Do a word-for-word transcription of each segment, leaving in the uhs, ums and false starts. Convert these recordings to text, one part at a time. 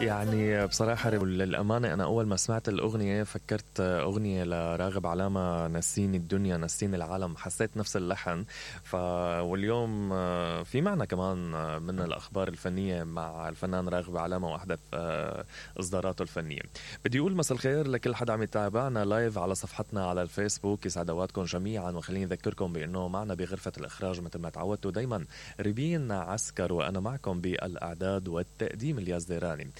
يعني بصراحة للأمانة أنا أول ما سمعت الأغنية فكرت أغنية لراغب علامة، نسيني الدنيا نسيني العالم. حسيت نفس اللحن. ف واليوم في معنا كمان من الأخبار الفنية مع الفنان راغب علامة وأحدث إصداراته الفنية. بدي أقول مساء الخير لكل حدا عم يتابعنا لايف على صفحتنا على الفيسبوك. يسعد اوقاتكم جميعا، وخليني أذكركم بأنه معنا بغرفة الإخراج مثل ما تعودتوا دايما ريبين عسكر، وأنا معكم بالأعداد والتقديم الياس ديراني.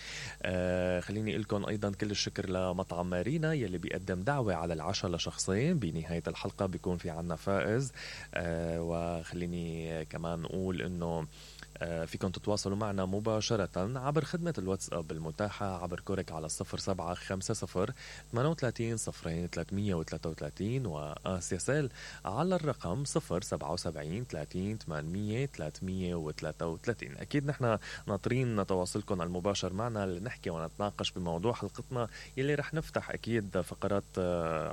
آه خليني لكم أيضا كل الشكر لمطعم مارينا يلي بيقدم دعوة على العشاء لشخصين. بنهاية الحلقة بيكون في عنا فائز. آه وخليني كمان أقول أنه فيكم تتواصلوا معنا مباشرة عبر خدمة الواتساب المتاحة عبر كورك على صفر سبعة خمسة صفر ثمانية وثلاثين صفرين ثلاثمية وثلاثة وثلاثين، وآسياسيل على الرقم صفر سبعة وسبعين ثلاثين ثمانمية ثلاثمية وثلاثة وثلاثين. أكيد نحن ناطرين تواصلكم المباشر معنا لنحكي ونتناقش بموضوع حلقتنا يلي رح نفتح أكيد فقرات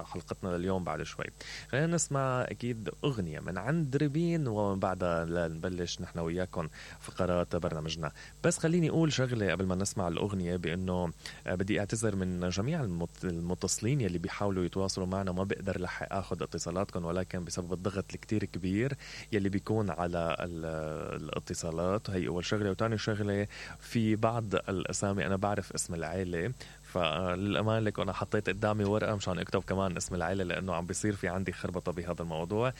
حلقتنا لليوم بعد شوي. خلينا نسمع أكيد أغنية من عند ريبين، ومن بعدها نبلش نحن وياكم فقرات برنامجنا. بس خليني أقول شغلة قبل ما نسمع الأغنية، بأنه بدي أعتذر من جميع المتصلين يلي بيحاولوا يتواصلوا معنا. ما بقدر لحق أخذ اتصالاتكم، ولكن بسبب الضغط الكتير كبير يلي بيكون على الاتصالات. هي أول شغلة. وتاني شغلة، في بعض الأسامي أنا بعرف اسم العائلة، فللأمان لك أنا حطيت قدامي ورقة مشان أكتب كمان اسم العائلة، لأنه عم بيصير في عندي خربطة بهذا الموضوع.